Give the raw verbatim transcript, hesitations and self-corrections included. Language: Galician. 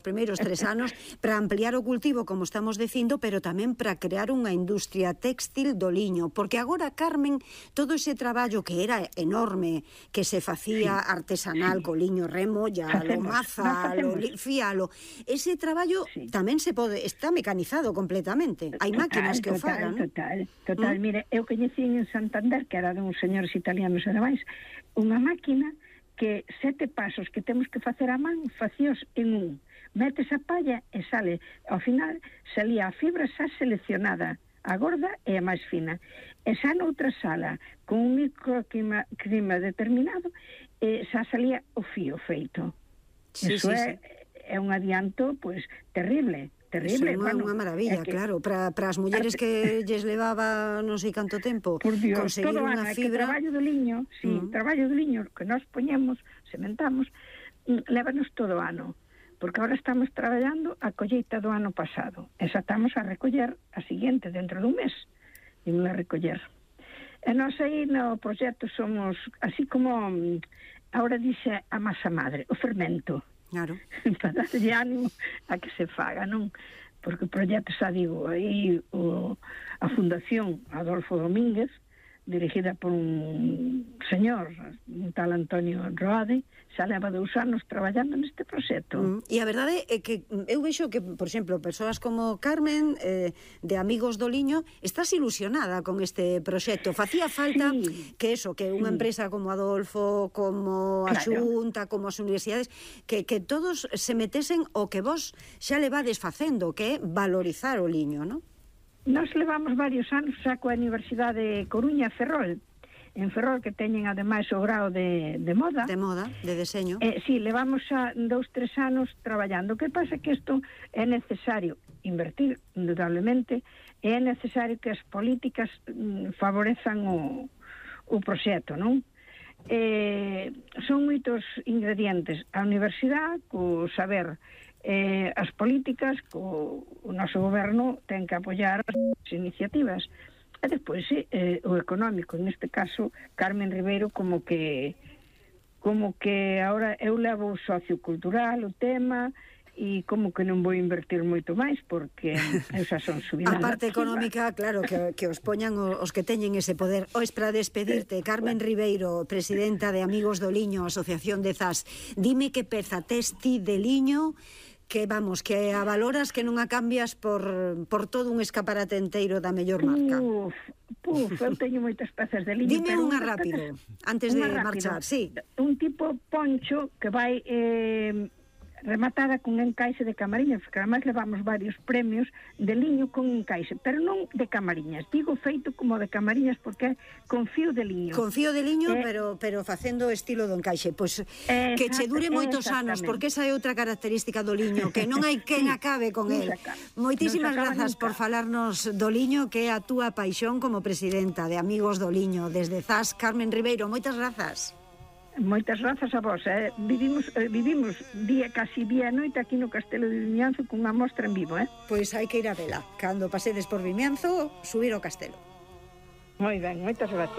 primeiros tres anos para ampliar o cultivo, como estamos dicindo, pero tamén para crear unha industria textil do liño, porque agora, Carmen, todo ese traballo que era enorme, que se facía sí, artesanal, sí. co liño remo, ya lo maza, lo fíalo, ese traballo sí. tamén se pode, está mecanizado completamente, hai máquinas que total, o fagan. Total, total, ¿Mm? Mire, eu coñecín en Santander, que era de uns señores italianos e demais, unha máquina que sete pasos que temos que facer a man, facíos en un. Metes a palla e sale, ao final salía a fibra xa seleccionada, a gorda e a máis fina, e xa noutra sala con un microclima clima determinado e xa salía o fío feito. Sí, Eso sí, é, sí. é un adianto pois terrible, terrible. Eso é unha, bueno, unha maravilla, que, claro, para as mulleres que lles levaba non sei canto tempo por Dios, conseguir todo unha ano, fibra. É que traballo do liño, sí, uh -huh. traballo do liño que nós poñemos, sementamos, lévanos todo o ano. Porque agora estamos traballando a colleita do ano pasado. E xa estamos a recoller a seguinte, dentro dun mes. Imos a recoller. E nós aí no proxecto somos, así como agora dixe a masa madre, o fermento. Claro. Para darlle ánimo a que se faga, non? Porque o proxecto, xa digo, aí o, a Fundación Adolfo Domínguez, dirigida por un señor, un tal Antonio Roade, xa leva dous anos traballando neste proxecto. Mm, e a verdade é que eu vexo que, por exemplo, persoas como Carmen, eh, de Amigos do Liño, estás ilusionada con este proxecto. Facía falta sí, que eso, que unha sí. empresa como Adolfo, como a claro. Xunta, como as universidades, que, que todos se metesen o que vos xa levades facendo, que é valorizar o liño, non? Nos levamos varios anos xa coa Universidade de Coruña, Ferrol, en Ferrol, que teñen ademais o grao de, de moda. De moda, de deseño. Eh, sí, levamos xa dous, tres anos traballando. O que pasa é que isto é necesario invertir, indudablemente, e é necesario que as políticas mm, favorezan o, o proxecto, non? Eh, son moitos ingredientes. A universidade, co saber, eh, as políticas, co, o noso goberno ten que apoiar as iniciativas. E despois, eh, o económico, neste caso, Carmen Ribeiro, como que como que ahora eu levo o sociocultural, o tema, e como que non vou invertir moito máis, porque eu xa son subidada. A parte económica, claro, que, que os poñan os que teñen ese poder. Ois, para despedirte, Carmen Ribeiro, presidenta de Amigos do Liño, Asociación de Zas, dime que peza tes ti de liño que, vamos, que a valoras, que non a cambias por, por todo un escaparate enteiro da mellor marca. Uf, puf, eu teño moitas pezas de liño. Dime unha rápido, antes de marchar, sí. Un tipo poncho que vai eh, rematada con encaixe de camariñas, porque además levamos varios premios de liño con encaixe, pero non de camariñas, digo feito como de camariñas porque é con fío de liño. Con fío de liño, eh, pero pero facendo o estilo do encaixe. Pois pues, que che dure moitos anos, porque esa é outra característica do liño, que non hai quen sí, acabe con el. Moitísimas grazas por falarnos do liño, que é a túa paixón como presidenta de Amigos do Liño. Desde Zas, Carmen Ribeiro, moitas grazas. Moitas grazas a vos, eh? Vivimos, eh, vivimos día, casi día e noite aquí no Castelo de Vimianzo cunha mostra en vivo, eh? Pois hai que ir a vela. Cando pasedes por Vimianzo, subir ao castelo. Moi ben, moitas gracias.